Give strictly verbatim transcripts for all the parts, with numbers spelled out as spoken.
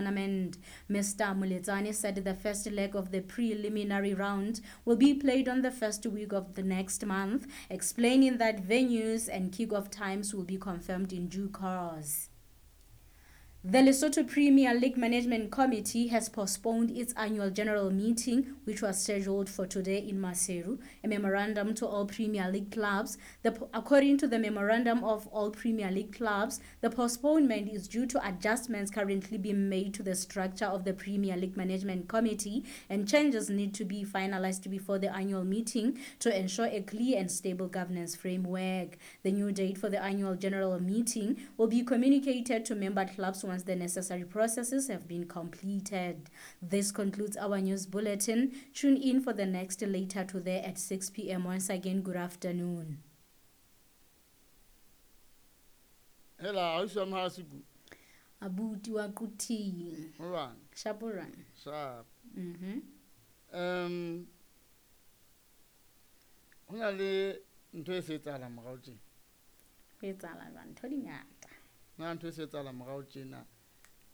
tournament. Mister Moletsane said the first leg of the preliminary round will be played on the first week of the next month, explaining that venues and kickoff times will be confirmed in due course. The Lesotho Premier League Management Committee has postponed its annual general meeting, which was scheduled for today in Maseru. A memorandum to all Premier League clubs. The, according to the memorandum of all Premier League clubs, the postponement is due to adjustments currently being made to the structure of the Premier League Management Committee, and changes need to be finalized before the annual meeting to ensure a clear and stable governance framework. The new date for the annual general meeting will be communicated to member clubs once the necessary processes have been completed. This concludes our news bulletin. Tune in for the next later today at six p m. Once again, good afternoon. Hela, ausi wa Mahasuku. Abuti wa Quthing. Ho jwang? Shapo jwang? Sharp. Mhm. Um ho na le ntho e se etsahalang morao tjena. Ho etsahala jwang? Ntho di ngata. Na ntho e se etsahalang morao tjena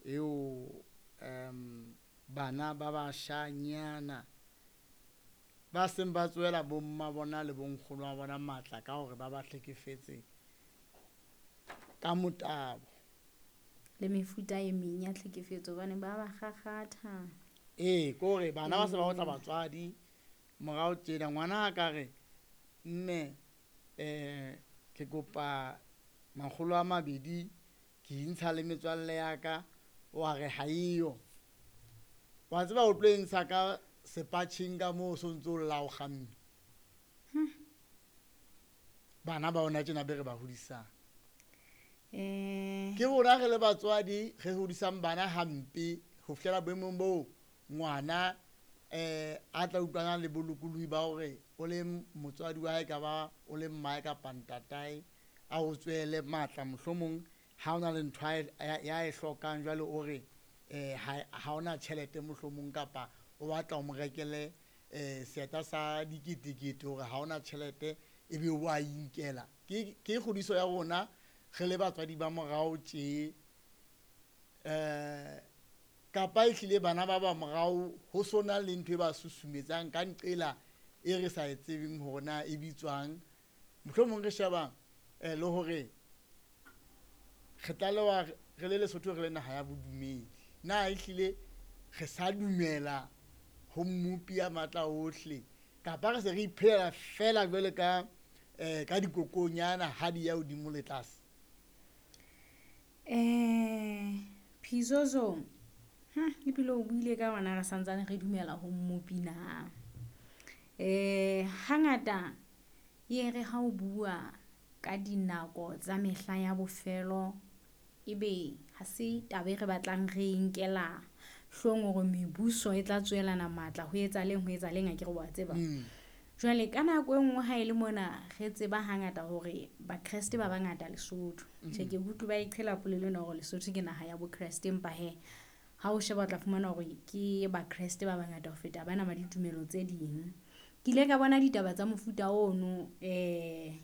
eo um bana ba bashanyana ba seng ba tsohela bomma bona le bonkgono wa bona matla ka hore ba ba hlekefetse ka motabo. Le mefuta e meng ya tlhekefetso hobane ba ba kgakgatha. Ee, ke hore bana ba se ba otla batswadi morao tjena. Ngwana a ka re, mme um ke kopa makgolo a mabedi ke intsha le metswalle ya ka, wa re ha eyo. Wa tseba o tlo e ntsha ka sepatjheng ka moo so ntso o lla o kgamme. Bana ba ona tjena be re ba hodisang. Eh Ke rona re le batswadi re hodisang bana hampe ho fihlela boemong boo ngwana eh a tla utlwana le bolokolohi ba hore o le motswadi wa hae ka ba o le mmae kapa ntatae a o tswele matla, mohlomong ha ona le ntho ya e hlokang jwale o re eh ha ha ona tjhelete mohlomong kapa o batla o mo rekele eh seeta sa diketekete hore ha ona tjhelete ebe o a inkela. Ke ke kgodiso ya rona re le batswadi ba morao tje, eh kapa ehlile bana ba ba morao ho sona le ntho e ba susumetsang ka nqela e re sa e tsebeng hore na e bitswang. Mohlomong re sheba eh le hore re tlalewa re le Lesotho re le naha ya bodumedi. Na ehlile re sa dumela ho mmopi ya matla ohle kapa re se re iphelela fela jwale ka eh ka dikokonyana ha di ya hodimo le tlase? Eh Phizozo, hm ebile o buile ka ona re santsane re dumela ho mmopi na. Eh hangata ye re ha o bua ka dinako tsa mehla ya bofelo, ebe ha se taba e re batlang re e nkela hloohong hore mebuso e tla tswelana matla ho etsa leng ho etsa leng, akere wa tseba. Mm. Jwale ka nako e nngwe ha e le mona re tseba hangata hore Bakreste ba bangata Lesotho. Tjhe, ke utlwe ba e qhela polelo ena hore Lesotho ke naha ya Bokreste, empa hee ha o sheba o tla fumana hore ke Bakreste ba bangata ho feta bana ba ditumelo tse ding. Ke ile ka bona ditaba tsa mofuta ono, eh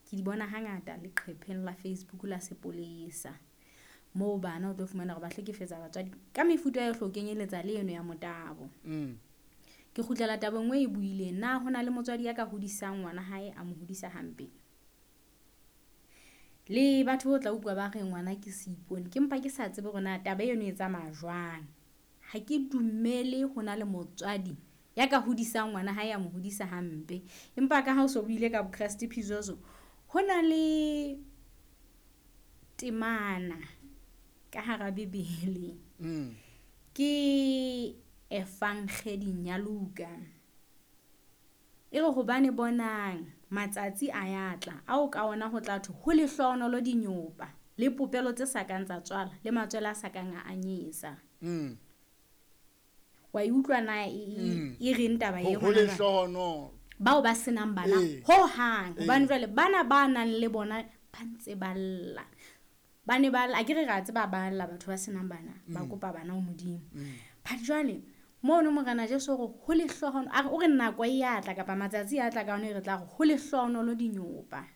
ke di bona hangata leqhepheng la Facebook la sepolesa. Moo bana o tlo fumana hore ba hlekefetsa batswadi ka mefuta yohle ho kenyeletsa le eno ya motabo. Mm. Ke kgutlela tabeng e buileng, na hona le motswadi ya ka hodisang ngwana hae a mo hodisa hampe? Le batho bo tla utlwa ba re ngwana ke seipone, ke mpa ke sa tsebe hore na taba eno e tsamaya jwang. Ha ke dumele ho na le motswadi ya ka hodisang ngwana hae a mo hodisa hampe. Empa ka ha o so buile ka Bokreste Phizozo, ho na le temana ka hara Bibele. Mm. Ke Evangeding ya Luka. E re hobane bonang matsatsi a ya tla ao ka ona ho tla thwe ho lehlohonolo dinyopa le popelo tse sa kang tsa tswala le matswele a sa kang a anyesa. Mm. Wa e utlwa na e, e, Mm. e reng taba e Ho ho hona jwale? lehlohonolo. Bao ba senang bana Ee. ho hang, Ee. hobane jwale bana ba nang le bona ba ntse ba lla. Ba ne ba lla, akere re a tseba ba lla batho ba senang bana, ba Mm. kopa bana ho Modimo. Mm. But jwale mono Morena Jesu hore ho lehlohonolo, a re o re nako e ya tla kapa matsatsi a tla ka ona e re tla re ho lehlohonolo dinyopa.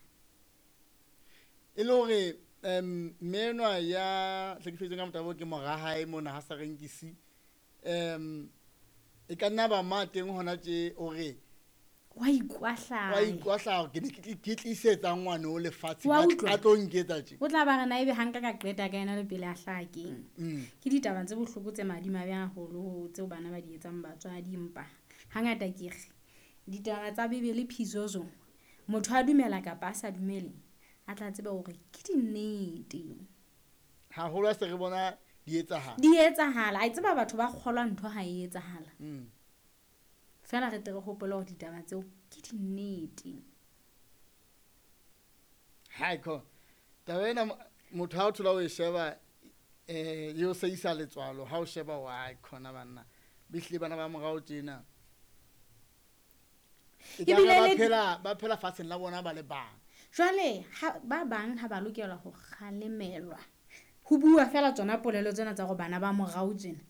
E le hore Um mme enwa ya hlekefetsweng ka motabo ke mora hae mona ha sa renkisi. Um e ka nna ba ma teng hona tje o re wa ikwahlaya. Wa ikwahlaya ke ne ke tlisetsa ngwana o lefatshe Wa utlwa? a tlo nketsa tje. O tla ba re na ebe ha nka ka qeta ka yena le pele a hlaha keng. Mm. Ke ditaba tse bohloko tse madimabe haholo tseo bana ba di etsang batswadi, empa hangata ke re ditaba tsa Bibele phizozo motho a dumela kapa a sa dumele a tla tseba hore ke dinnete. Haholo ha se re bona di etsahala. Di etsahala. A tseba batho ba kgolwa ntho ha e etsahala. Mm. Feela re tle re hopole hore ditaba tseo ke dinnete. Hai ko. Taba ena motho ha o thola o e sheba eh yo se isa letswalo ha o sheba wa khona banna. Bihle bana ba morao tjena. E ka Ebile ba le phela ba phela fatsheng la bona ba le bang. Jwale ha ba bang ha ba lokela ho kgalemelwa. Ho bua feela tsona polelo tsena tsa hore bana ba morao tjena.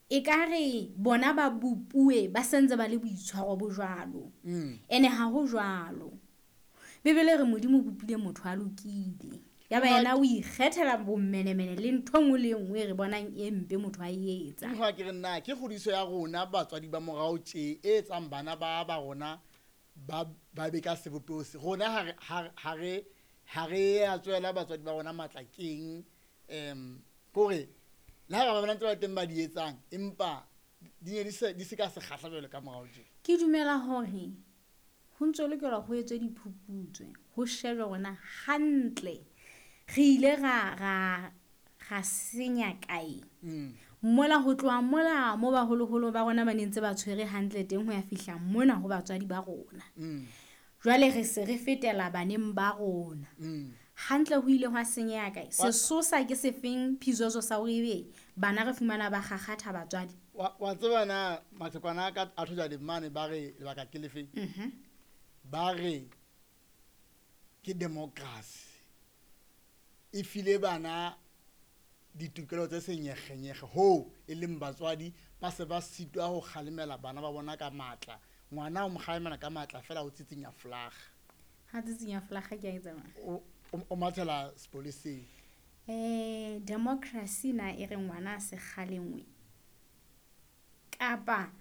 E ka re bona ba bopuwe ba sentse ba le boitshwaro bo jwalo. Mm. Ene ha ho jwalo. Bibele re Modimo o bopile motho a lokile. Ya ba yena o ikgethela bommenemene le ntho nngwe le nngwe e re bonang e mpe motho a e etsa. Ke ke re nna ke kgodiso ya rona batswadi ba morao tje e etsang bana ba ba rona ba ba be ka sebopeho se. Rona ha re, ha re, ha re a tswela batswadi ba rona matla keng, em, kore le ha ba bona ntse ba teng ba di etsang, empa di ne di se, di se ka sekgahla jwalo ka morao tje. Ke dumela hore ho ntso lokelwa ho etswe diphuputso, ho shejwe rona hantle. Re ile ra, ra, ra senya kae? Mm. Mola ho tloha mola mo baholoholo ba rona ba ne ntse ba tshwere hantle teng ho ya fihla mona ho batswadi ba rona. Mm. Jwale re se re fetela baneng ba rona. Mm. Hantle ho ile hwa senyeha kae? Wa- Sesosa ke sefeng phizozo sa hore ebe bana re fumana ba kgakgatha batswadi? Wa, wa tseba na mathekwana a ka a thoja dimane ba re lebaka ke lefe? Mhm. Ba re ke democracy. E file bana ditokelo tse senyekgenyekge hoo e leng batswadi ba se ba sitwa ho kgalemela bana ba bona ka matla. Ngwana o mo kgalemela ka matla fela o tsitsinya folaga. Ha tsitsinya folaga ke a e tsamaya. O, o, o mathela sepoleseng. Eh, democracy na e re ngwana a se kgalengwe. Kapa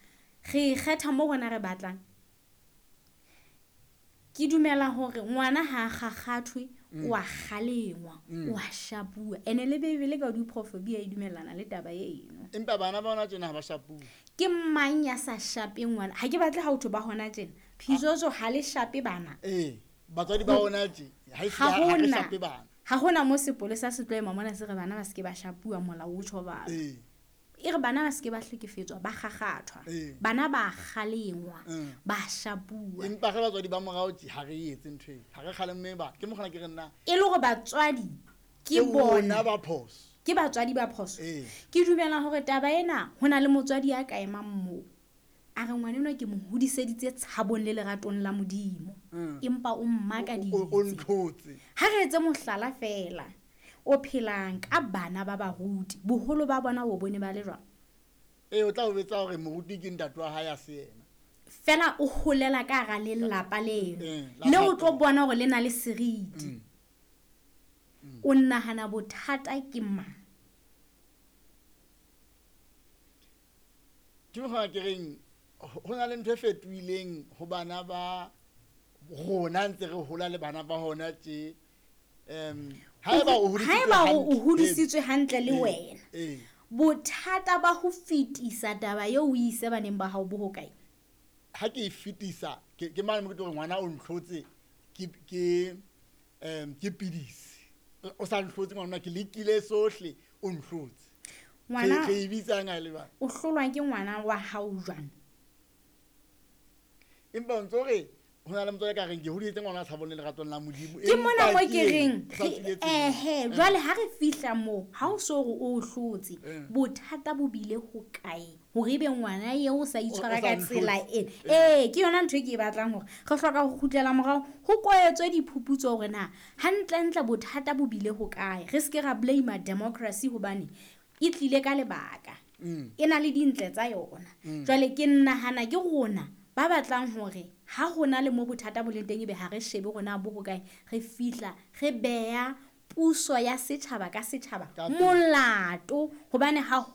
re kgetha mo rona re batlang. Ke dumela hore ngwana ha a kgakgathwe, Mm. o a kgalengwa, Mm. o a shapuwa. Ene le Bibele ka diprofobia e dumellana le taba eno. Empa bana ba hona tjena ha ba shapuwe. Ke mang ya sa shapeng ngwana? Ha ke batle ha ho thwe ba hona tjena. Phizozo ha le shape bana. Eh, batswadi ba hona tje, ha e Ha ha re hona. shape bana. Ha hona mo sepolesa se tlo ema mona se re bana ba se ke ba shapuwa molao o tjho bana. Eh. E re bana ba se ke ba hlekefetswa, ba kgakgathwa. Eh. Bana ba kgalengwa, Mm. ba shapuwa. Empa re batswadi ba morao tje ha re etse ntho eo. Ha re kgalemme ba. Ke mokgona ke re nna. E le hore batswadi ke Ke bona bona ba phoso. Ke batswadi ba phoso. Eh. Ke dumela hore taba ena ho na le motswadi ya ka emang moo. A re ngwana enwa ke mo hodiseditse tshabong le leratong la Modimo. Mm. Empa o mmakaditse. O, o ntlhotse. Ha re etse mohlala feela. O phelang ka bana ba baruti. Boholo ba bona o bone ba le jwang? Eh, o tla o betsa hore moruti ke ntate wa hae a se yena. Feela o holela ka hara lelapa leno. Eh, la Le o hape. tlo bona hore le na le seriti. Mm. Mm. O nahana bothata ke mang? Ke mokgwa ke reng, ho na le ntho e fetohileng ho bana ba rona ntse re hola le bana ba hona tje. Em, haeba o hodisitswe Haeba o hantle, hodisitswe hantle le eh, wena. eh. Bothata ba ho fetisa taba eo o ise baneng ba hao bo hokae? Ha ke e fetisa, ke, ke mane mo ke tlo re ngwana o ntlhotse, ke, ke, em, ke pidisi. O sa ntlhotse ngwana, ke lekile sohle, o ntlhotse. Ngwana Re, re e bitsang ha e le bana? O hlolwa ke ngwana wa hao jwang? Empa o ntso re ho na le motswadi ka reng ke hodisitse ngwana a tshabong le leratong la Modimo. Ke mona Empa mo ke ke reng, o sa re, tswile tseleng. ehe, jwale ha re fihla moo, ha o so re o hlotse, Eh. bothata bo bile ho kae? Hore ebe ngwana eo o sa O, o itshwara sa ka tsela ntlhotse. ena. Eh, ke yona ntho e ke e batlang hore re hloka ho kgutlela morao, ho koetswe diphuputso hore na hantlentle bothata bo bile ho kae. Re se ke ra blame democracy hobane e tlile ka lebaka. Mm. E na le dintle tsa yona. Mm. Jwale ke nahana ke rona ba batlang hore ha hona le mo bothata bo leng teng ebe ha re shebe rona bo hokae, re fihla re beha Puso ya setjhaba ka setjhaba Ka pele. Molato, hobane ha ho